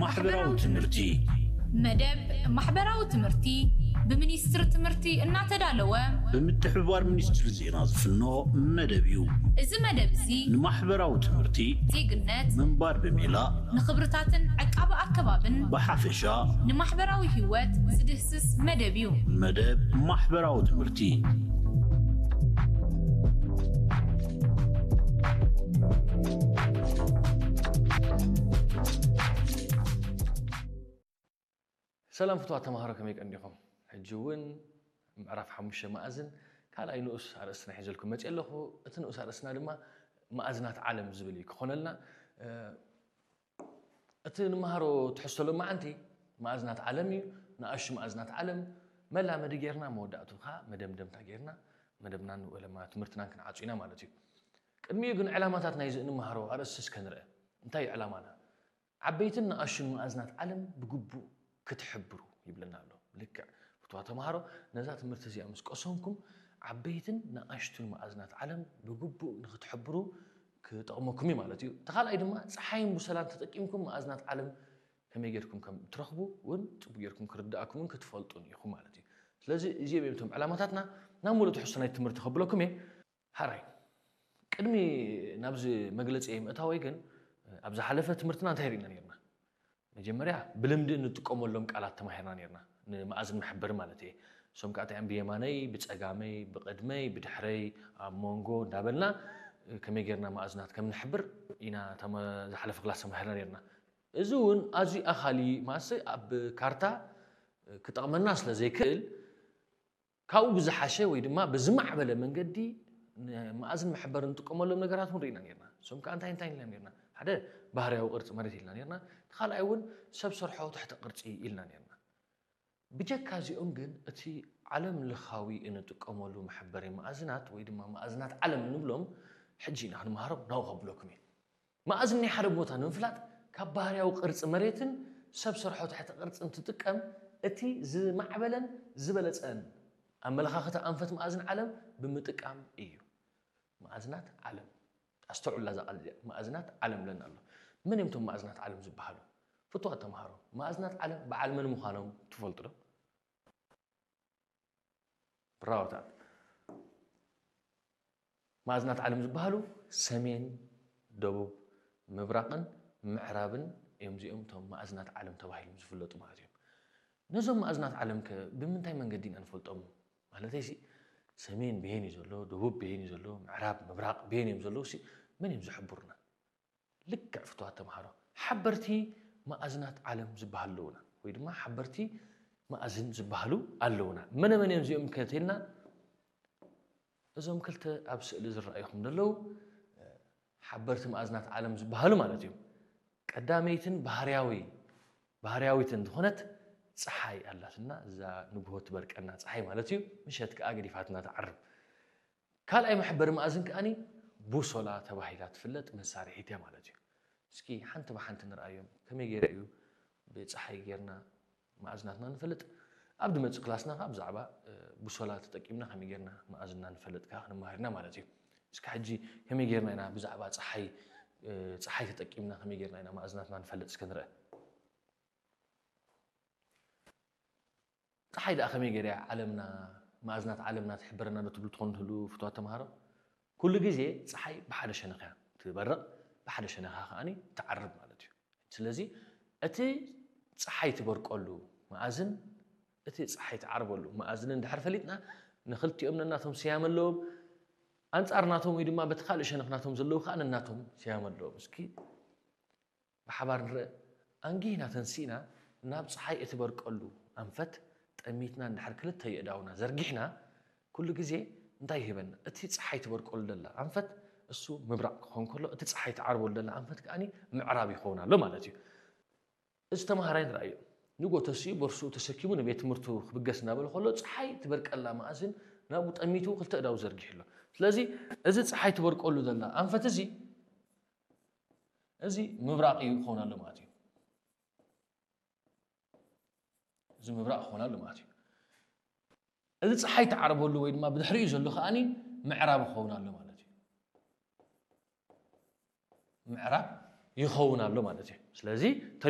ማሕበራዊ ትምህርቲ። መደብ ማሕበራዊ ትምህርቲ ብሚኒስትሪ ትምህርቲ እናተዳለወ ብምትሕብባር ሚኒስትሪ ዜና ዝፍኖ መደብ እዩ። እዚ መደብ እዚ ንማሕበራዊ ትምህርቲ፣ ዜግነት፣ ምንባር ብሜላ፣ ንኽብርታትን ዕቃበ ኣከባብን ብሓፈሻ ንማሕበራዊ ህይወት ዝድህስስ መደብ እዩ። መደብ ማሕበራዊ ትምህርቲ። ሰላም ፍትዋት ተምሃሮ፣ ከመይ ቀኒኹም? ሕጂ እውን ምዕራፍ ሓሙሽተ መኣዝን ካልኣይ ንኡስ ኣርእስትና ሒዘልኩም መፅእ ኣለኹ። እቲ ንኡስ ኣርእስትና ድማ መኣዝናት ዓለም ዝብል እዩ ክኾነልና። እቲ ንመሃሮ ትሕዝቶ ሎማዓንቲ መኣዝናት ዓለም እዩ። ንኣሽቱ መኣዝናት ዓለም መላመዲ ጌርና፣ መወዳእቱ ከዓ መደምደምታ ጌርና መደብናን ወለማ ትምህርትናን ክንዓጹ ኢና ማለት እዩ። ቅድሚኡ ግን ዕላማታት ናይዚ እንመሃሮ ኣርእስቲ እስከ ንርአ። እንታይ እዩ ዕላማና? ዓበይትን ንኣሽቱን መኣዝናት ዓለም ብግቡእ ክትሕብሩ ይብለና ኣሎ። ልክዕ ፍትዋ ተምሃሮ፣ ነዛ ትምህርቲ እዚኣ ምስ ቀሰምኩም ዓበይትን ንኣሽቱን መኣዝናት ዓለም ብግቡእ ንክትሕብሩ ክጠቕመኩም እዩ ማለት እዩ። እቲ ካልኣይ ድማ ፀሓይን ቡሰላን ተጠቂምኩም መኣዝናት ዓለም ከመይ ጌርኩም ከም ትረኽቡ እውን ፅቡቅ ጌርኩም ክርዳእኩም እውን ክትፈልጡን ኢኹም ማለት እዩ። ስለዚ እዚኦም እዮም እቶም ዕላማታትና። ናብ ሙሉእ ትሕዝቶ ናይ ትምህርቲ ከብለኩም እየ። ሓራይ ቅድሚ ናብዚ መግለፂ ምእታወይ ግን ኣብ ዝሓለፈ ትምህርትና እንታይ ርኢና ነርና? መጀመርያ ብልምዲ እንጥቀመሎም ቃላት ተማሂርና ነርና፣ ንመኣዝን መሐበሪ ማለት እየ። እሶም ከዓ እንታይ እዮም? ብየማነይ፣ ብፀጋመይ፣ ብቕድመይ፣ ብድሕረይ፣ ኣብ መንጎ እንዳበልና ከመይ ጌርና መኣዝናት ከም ንሕብር ኢና ተመ- ዝሓለፈ ክላስ ተማሂርና ነርና። እዚ እውን ኣዝዩ ኣኻሊ ማሰ ኣብ ካርታ ክጠቕመና ስለ ዘይክእል ካብኡ ብዝሓሸ ወይ ድማ ብዝማዕበለ መንገዲ ንመኣዝን መሐበሪ እንጥቀመሎም ነገራት እውን ርኢና ነርና። እሶም ከዓ እንታይ እንታይ ኢልና ነርና? ሓደ ባህርያዊ ቅርፂ መሬት ኢልና ነርና። እቲ ካልኣይ እውን ሰብ ሰርሖ ትሕተ ቅርፂ ኢልና ነርና። ብጀካ እዚኦም ግን እቲ ዓለም ለኻዊ እንጥቀመሉ መሐበሪ መኣዝናት ወይ ድማ መኣዝናት ዓለም እንብሎም ሕጂ ኢና ክንመሃሮም ናብኡ ከብለኩም እየ። መኣዝን ናይ ሓደ ቦታ ንምፍላጥ ካብ ባህርያዊ ቅርፂ መሬትን ሰብ ሰርሖ ትሕተ ቅርፂ እንትጥቀም እቲ ዝማዕበለን ዝበለፀን ኣመለኻኽታ ኣንፈት መኣዝን ዓለም ብምጥቃም እዩ። መኣዝናት ዓለም ኣስተውዕላ እዛ ቃል እዚኣ፣ መኣዝናት ዓለም ብለና ኣሎ። መን እዮም እቶም መኣዝናት ዓለም ዝበሃሉ? ፍትዋት ተምሃሮ፣ መኣዝናት ዓለም በዓል መን ምዃኖም ትፈልጡ ዶ? ብራወታት መኣዝናት ዓለም ዝበሃሉ ሰሜን፣ ደቡብ፣ ምብራቕን ምዕራብን እዮም። እዚኦም እቶም መኣዝናት ዓለም ተባሂሎም ዝፍለጡ ማለት እዮም። ነዞም መኣዝናት ዓለም ከ ብምንታይ መንገዲ ኢና ንፈልጦም? ማለተይ ሲ ሰሜን ብሄን እዩ ዘሎ፣ ደቡብ ብሄን እዩ ዘሎ፣ ምዕራብ ምብራቕ ብሄን እዮም ዘለዉ ሲ መን እዮም ዝሕብሩና? ልክዕ ፍትዋት ተምሃሮ፣ ሓበርቲ መኣዝናት ዓለም ዝበሃሉ ኣለዉና ወይ ድማ ሓበርቲ መኣዝን ዝበሃሉ ኣለዉና። መነ መን እዮም እዚኦም ከትልና? እዞም ክልተ ኣብ ስእሊ ዝረኣዩኹም ዘለዉ ሓበርቲ መኣዝናት ዓለም ዝበሃሉ ማለት እዮም። ቀዳመይትን ባህርያዊ ባህርያዊትን ዝኾነት ፀሓይ ኣላትና። እዛ ንግሆ ትበርቀና ፀሓይ ማለት እዩ። ምሸት ከዓ ገዲፋትና ትዓርብ። ካልኣይ መሐበሪ መኣዝን ከኣኒ ቡሶላ ተባሂላ ትፍለጥ መሳርሒት እያ ማለት እዩ። እስኪ ሓንቲ ብሓንቲ ንርኣዮም። ከመይ ገይረ እዩ ብፀሓይ ጌርና መኣዝናትና ንፈልጥ? ኣብ ድመፅእ ክላስና ከዓ ብዛዕባ ቡሶላ ተጠቂምና ከመይ ጌርና መኣዝንና ንፈልጥ ከዓ ክንመሃር ኢና ማለት እዩ። እስኪ ሕጂ ከመይ ጌርና ኢና ብዛዕባ ፀሓይ ፀሓይ ተጠቂምና ከመይ ጌርና ኢና መኣዝናትና ንፈልጥ እስከ ንርአ። ፀሓይ ደኣ ከመይ ገይራ ዓለምና መኣዝናት ዓለምና ትሕብረና ዶ ትብሉ ትኾኑ ትህሉ ፍትዋት ተምሃሮ? ኩሉ ግዜ ፀሓይ ብሓደ ሸነኽ እያ ትበርቕ፣ ብሓደ ሸነኻ ከኣኒ ትዓርብ ማለት እዩ። ስለዚ እቲ ፀሓይ ትበርቀሉ መኣዝን እቲ ፀሓይ ትዓርበሉ መኣዝን እንድሕር ፈሊጥና ንክልቲኦም ነናቶም ስያመ ኣለዎም። ኣንፃር ናቶም ወይ ድማ በቲ ካልእ ሸነኽ ናቶም ዘለዉ ከዓ ነናቶም ስያመ ኣለዎም። እስኪ ብሓባር ንርአ። ኣንጊህና ተንሲእና ናብ ፀሓይ እትበርቀሉ ኣንፈት ጠሚትና እንድሕር ክልተ የእዳውና ዘርጊሕና ኩሉ ግዜ እንታይ ይህበና? እቲ ፀሓይ ትበርቀሉ ደላ ኣንፈት እሱ ምብራቕ ክኾን ከሎ እቲ ፀሓይ ትዓርበሉ ደላ ኣንፈት ከኣኒ ምዕራብ ይኸውን ኣሎ ማለት እዩ። እዚ ተምሃራይ ንርኣዮ ንጎ ተሲኡ ቦርስኡ ተሰኪሙ ንቤት ትምህርቱ ክብገስ እናበለ ከሎ ፀሓይ ትበርቀላ መኣዝን ናብኡ ጠሚቱ ክልተ እዳው ዘርጊሑ ኣሎ። ስለዚ እዚ ፀሓይ ትበርቀሉ ዘላ ኣንፈት እዚ እዚ ምብራቕ እዩ ክኸውን ኣሎ ማለት እዩ። እዚ ምብራቕ ክኸውን ኣሎ ማለት እዩ። እዚ ፀሓይ ትዓርበሉ ወይ ድማ ብድሕሪኡ ዘሎ ከኣኒ ምዕራብ ክኸውን ኣሎ ማለት እዩ። ምዕራብ ይኸውን ኣሎ ማለት እዩ። ስለዚ